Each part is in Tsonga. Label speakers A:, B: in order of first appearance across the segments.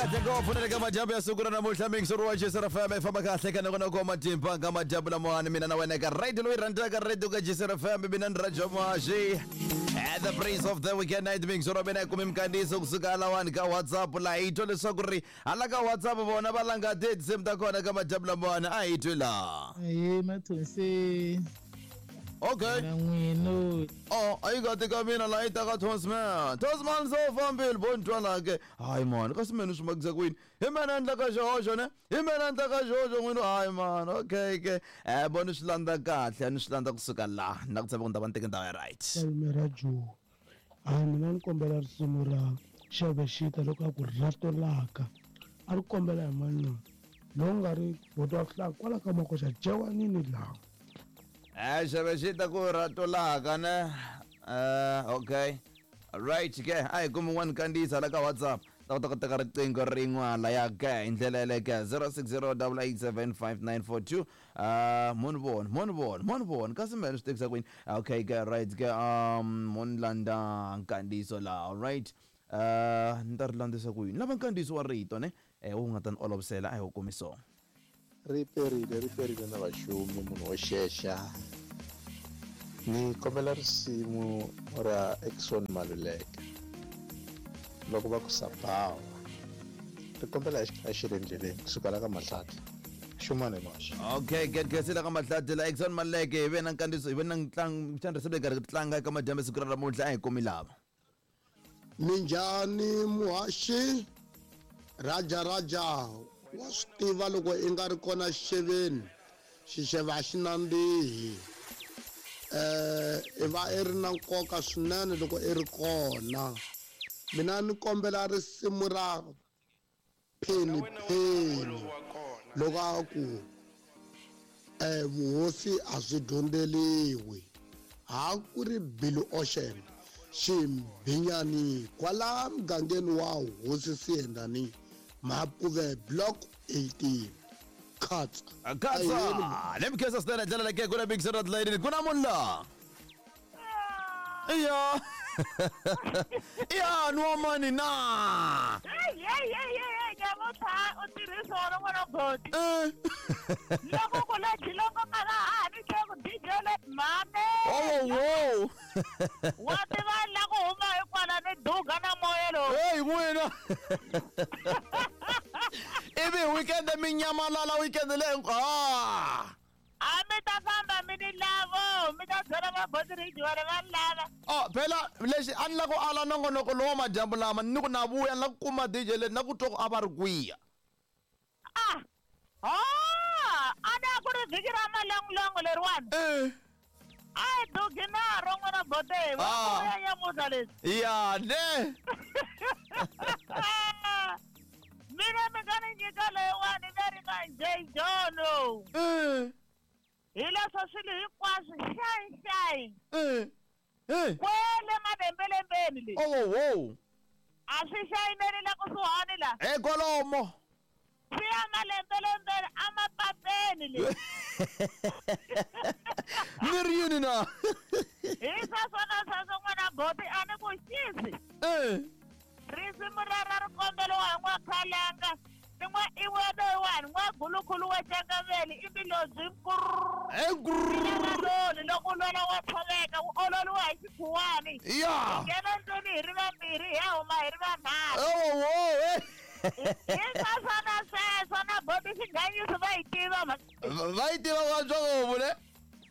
A: kahle ngopfu na le ka madyambu ya siku ra namuntlha mixer wa Jesera FM i famba kahle ka nongonoko wa matimba ka madyambu lamawani mina na wena eka radio loyi rhandzaka radio ka Jesera FM mina ni Rajo Mashi the prince of the weekend night mixer wa mina hi kumi minkandziyiso kusuka halawani ka WhatsApp laha hi twa leswaku ri hala ka WhatsApp vona va langa tinsimu ta kona ka madyambu lamawani a hi twi laha.
B: Ahee Mathonsi.
A: Okay.
B: Na n'wino.
A: Oh, a yi nga tika mina laha yi taka Tosman. Tosman se u fambile bo ni twa laha ke. Hayi mani, kasi mina swi makisa ku yini? Hi mina endlaka xihoxo ne? Hi mina endlaka xihoxo n'wini hayi mani. Okay ke. Eh bo ni swi landza kahle, ni swi landza kusuka laha. Na ku tshemba ku ni ta va ni teke ndhawu ya right.
C: Malume ra Joe hayi mina ni kombela risimu ra Xevexita loko a ku rato laka a ri kombela hi mani loyi lowu nga ri boti wa hlaka kwala ka makoxa jewanini laha.
A: Eh Xevexita ku rato laka ne? Eh okay. Right ke a hi kumi n'wana kandziyisa la ka WhatsApp ta kota ku teka riqingho rin'wana laya ke hi ndlela yaleyo ke 0608875942 mo ni vona mo ni vona mo ni vona kasi mehe ni swi tekisa ku yini okay ke right ke mo ni landza nkandziyiso laha alright ni ta ri landzisa ku yini lava nkandziyiso wa rito ne wu nga ta ni olovisela a hi wu kumi so.
D: Ri perile ri perile na vaxumi munhu wo xexa ni kombela risimu ra Eckson Maluleke loko va ku sabawa ri kombela hi xi ri endleleni kusuka la ka Mahlatla xumani maxa.
A: Okay get khensile ka Mahlatla la Eckson Maluleke hi ve na nkandziyiso hi ve na ntlangu xana risimu leyi karhi tlanga eka madyambu siku ra namuntlha a hi kumi lava.
E: Minjhani muhaxi? Raja Raja wa swi tiva loko i nga ri kona xixeveni xixevo a xi nandzihi i va i ri na nkoka swinene loko i ri kona mina ni kombela risimu ra Penny Penny loko a ku vuhosi a byi dyondzeriwi ha ku ri Billy Ocean Ximbinyani kwala mugangeni wa Hosi Siyendani Mapuve Block 18 Khatsa
A: Khatsa le mi khensa swinene ndlela leyi ku na big Sir Lady ku na munhu la iya iya nwa mani na
F: Hey, hey, hey, hey, hey, nyamutlha u tirhisa wona n'wana boti.
A: Eh.
F: Loko ku la jilongo mara ha ni tlhe ku DJ le mhane.
A: Oh, wow.
F: Wa tiva la ku huma hi kwala ni duga na moya lowu.
A: Hey, n'wina. Ivi weekend mi nyamalala weekend leyi ah.
F: A mi ta famba mi ni lavo, mi ta byela vaboti ri va ni lava.
A: Oh, phela lexi a ni la ku ala nongonoko lowa madyambu lama ni ku na vuya ni la ku kuma DJ leyi na ku twa ku a va ri kwiya.
F: Ah! Oh! A na ku ri vhiki ra malongolongo leriwani.
A: Eh.
F: A hi dugi naro n'wina bote, va
A: Ah.
F: vuya nyamutlha leswi.
A: Ya ne.
F: Mina mi nga ni nyika leyiwani leri nga njhe Jono.
A: Eh.
F: Hi leswo swilo hinkwaswo xayi xayi.
A: Eh. Eh.
F: Kwele malembelembeni le.
A: Oh, wow.
F: A swi xayineli la kusuhani la.
A: Eh, kwalomo.
F: Swi ya malembelembeni a mapapeni le.
A: Ni ri yini na?
F: Hi sweswo na sweswo n'wana boti a ni ku xisi.
A: Eh.
F: Risimu ra ra ri komberiwa hi n'wakhalanga ni n'wa iwe loyiwani n'wagulukhulu wa Cangaveli i milobyi nkuruloni loko u lwela wa tshoveka wu ololiwa hi xikhuwani.
A: Ya.
F: Hi nghena ndlwini hi ri vambirhi hi ya huma hi ri vanharhu.
A: Oh, oh, eh.
F: Hi sweswo na sweswo na boti xinghanyisi va yi tiva mhaka.
A: Va yi tiva ku antswa ngopfu ne?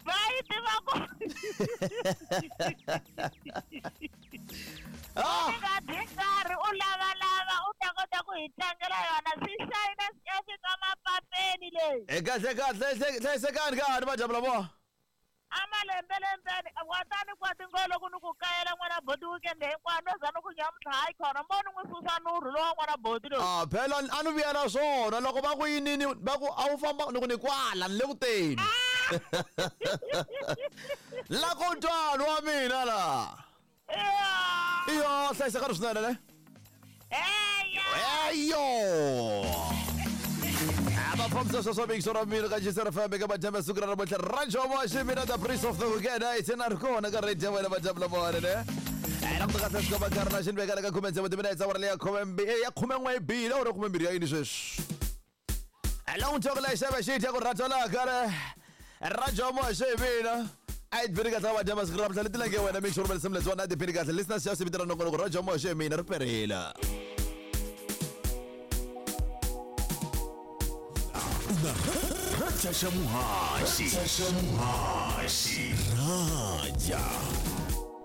F: Va yi tiva ku.
A: Ah!
F: Mi nga dyi nkarhi u lavalava u ta kota ku hi tlangela yona swi xayina swi ya fika mapapeni leyi.
A: Eh, kahle kahle hlayisekani ka ha ni madyambu lamawa.
F: A malembelembeni wa ta ni kwa tingolo ku ni ku kayela n'wana boti weekend hinkwayo no za ni ku nyamuntlha hayi khona mo ni n'wi susa nurhu lowa n'wana boti loyi.
A: Ah, phela a ni vuya na swona loko va ku yinini va ku a wu famba ni ku ni kwala ni le ku teni. La ku twani wa mina la. Iyo hlayisekani swinene ne? Eyo. Abafambisa sweswo mixo ra mina ka Jesera FM ka madyambu ya siku ra namuntlha Rajo wa Ximina the Prince of the Weekend hi tsena ri kona ka radio ya wena madyambu lamawani ne. Languta kahle swi komba nkarhi na xi ni vekela ka 16 timinetse awara leya ya 11 bile awara 12 ya yini sweswi. Languta ku lexa va xi dya ku rhatolaka re rajomo xi mina a yi bini kahle va dya masiku ra mhla leti lange wena mi xurumela simlets wa na ti bini kahle listeners xa sivitela nongonoko rajomo xi mina ri perila.
G: Raja xa muhaxi. Raja.